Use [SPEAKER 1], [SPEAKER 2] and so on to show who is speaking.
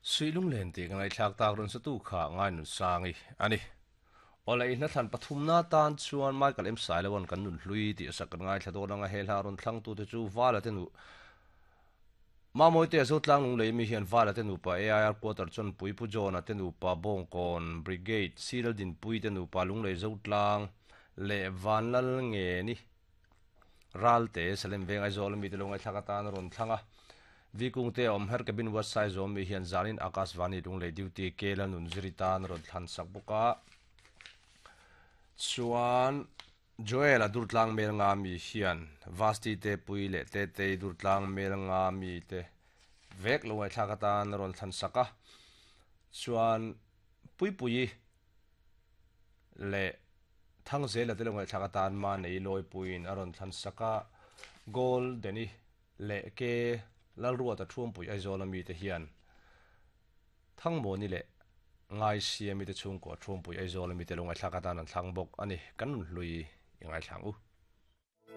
[SPEAKER 1] Suihlunglen tih ka ngaihthlak tak rawn satu kha Ngainunsangi a ni. Awle i hnathlan pathumna tan chuan Michael M Sailoan kan nun hlui tih a sak kan ngaithla dawn anga he hla rawn thlangtute chu Vala te nu Mamawite a Zotlang Lunglei mi hian Vala te nupa AIR Quarter Chawnpui Pu John-a te nupa Bawngkawn Brigade Siral Dinpui te nupa Lunglei Zotlang leh Vanlal Ngeni Ralte Salem Veng Aizawl ami te lo ngaihthlak atan a rawn thlang a. Vikung te a awm her Cabin West Saizawm mi hian zanin Akashvani Lunglei Duty Kela Nunziri tan a rawn thlan sak bawk a. Chuan Joel a Durtlang Mel nga mi hian Vasti te Pui leh Tetei Durtlang Mel nga mi te vek lo ngaihthlak atan a rawn thlan sak a. Chuan Puipuii leh Thangzela te lo ngaihthlak atan Manei Lawipuiin a rawn thlan sak a, Goal Danny leh Ke Lalruata Thuampui Aizawl a mite hian Thangmawni leh Ngaisiami te chhungkua Thuampui Aizawl a mite lo ngaihthlak atan an thlang bawk a ni. Kan nun hlui i ngaithla ang u.